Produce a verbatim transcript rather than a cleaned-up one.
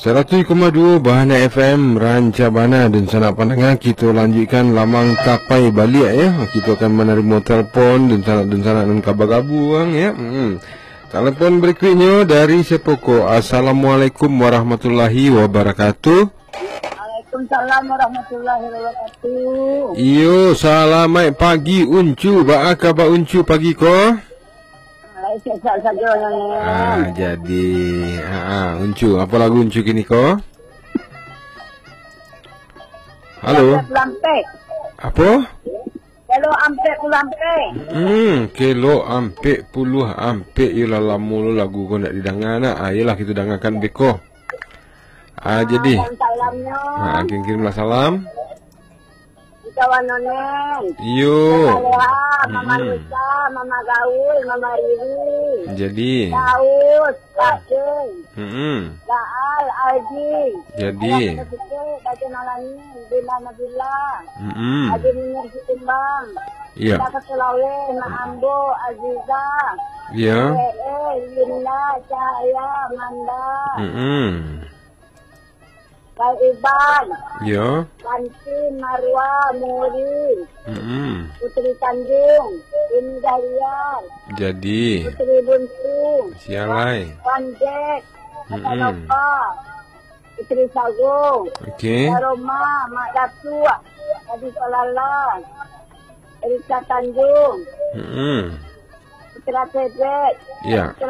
Saratuih koma duo Bahana F M, rancak bana dunsanak pandanga. Kito lanjuikkan lamang tapai baliak, ya. Kito akan manarimo telepon dunsanak-dunsanak nan ka bagabuang, ya. Hmm. Telepon berikutnyo dari sia ko? Assalamualaikum warahmatullahi wabarakatuh. Waalaikumsalam warahmatullahi wabarakatuh. Iyo, salamaik pagi, Uncu. Baa kaba Uncu pagi ko? Baik, sehat sajo, Nyonya. Ah, jadi. Ha, ah, Uncu. Apa lagu Uncu kini ko? Halo. Lampek. Apa? Kelo ampek puluah ampek. Hmm, kelo ampek puluah ampek. Iyolah, lamo lo lagu ko ndak didanga nak. Ah, iyolah, kito dangakan beko. Ah, jadi. Salam-salamnyo. Ha, kirim-kirimlah salam. Di kawan Noneng. Iyo. Mama Leha, Mama Mm-mm. Nusa, Mama Gaul, Mama Riri. Jadi. Daus, Pak Deng. Mm-mm. Laal, Aldi. Jadi. Ayah Kota Sike, Dajen Alani, Bila Nabila. Mm-mm. Haji Munir Sikumbang. Iya. Kita ke Sulawesi, Mak Ambo, Aziza. Iya. Eh, eh, Linda, Cahaya, Manda. Mm-mm. Kak Iban. Yo. Santi, Marwa, Muri. Mm-mm. Putri Tanjung, Ini Dahlia. Jadi. Putri Buntu. Sialai. Pandek. Mm-mm. Nova. Putri Sago. Oke. Roma, Mak Datuk. Adi Salala. Erika Tanjung. Mm-mm. Putra Cedek. Ya.